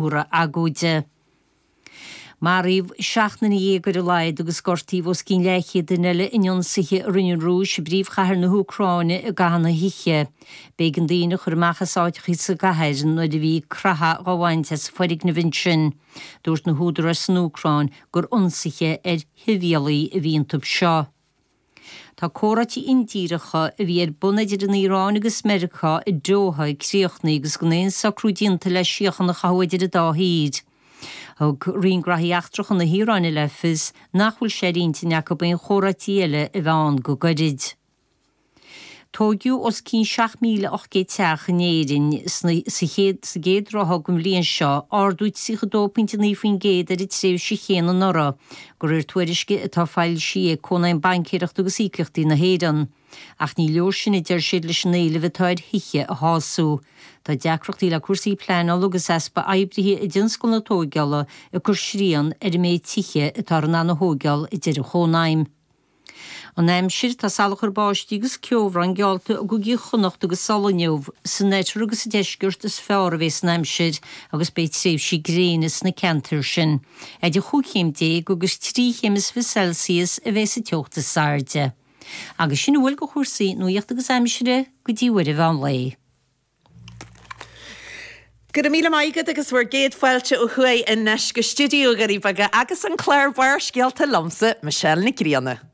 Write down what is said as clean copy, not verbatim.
Móra agóide. Maraíodh 17 nduine ar a laghad agus gortaíodh os cionn leathchéad duine eile in ionsaithe a rinne an Rúis i bpríomhchathair na hÚcráine i gcaitheamh na hoíche. B'éigean daoine a chur amach as áiteacha sa gcathair nuair a bhí creathadh dhá bhaint as foirgnimh ansin. Dúirt na húdaráis san Úcráin gur ionsaithe ar shibhialaigh a bhí iontu seo. Tá comhráití indíreacha a bhí ar bun idir an Iaráin agus Meiriceá i Doha críochnaithe agus gan aon socrú déanta le síocháin a chothú idir an dá thír. Thug Roinn Graithí Eachtracha na hIaráine le fios nach bhfuil sé ar intinn acu aon chomhráití eile a bheith ann go gairid. Tóigeadh os cionn 7,800 teach in Éirinn sna sa chéad sa gcéad ráithe den bhliain seo, ardú 32.9% ar an tréimhse chéanna anuraidh, De réir tuairisce atá foilsithe ag Cónaidhm Baincéireachta agus Íocaíochtaí na hÉireann. Ach ní leor sin, a deir siad, leis an éileamh atá ar thithe a shású. Tá deacrachtaí le cúrsaí pleanála agus easpa oibrithe i dtionscal na tóigeála ag cur srian ar an méid tithe atáthar in ann a thóigeáil, a deir an Chónaidhm. An aimsir, Tá salachar báistí agus ceobhrán geallta i gcúigí Chonnacht agus Uladh inniu. San oirthear agus sa deisceart is fearr a bheas an aimsir agus beidh tréimhsí gréine sna ceantair sin. Idir chúig chéim déag agus 3 chéim is 20 Celsius a bheas an teocht is airde. Agus sin a bhfuil de chúrsaí nuachta agus aimsire go dtí uair an mheán lae. Go raibh míle maith agat agus bhur gcéad fáilte ó thuaidh anois go stiúideo Dhoirí Beaga agus an clár Barrscéalta liomsa, Michelle Nic Grianna.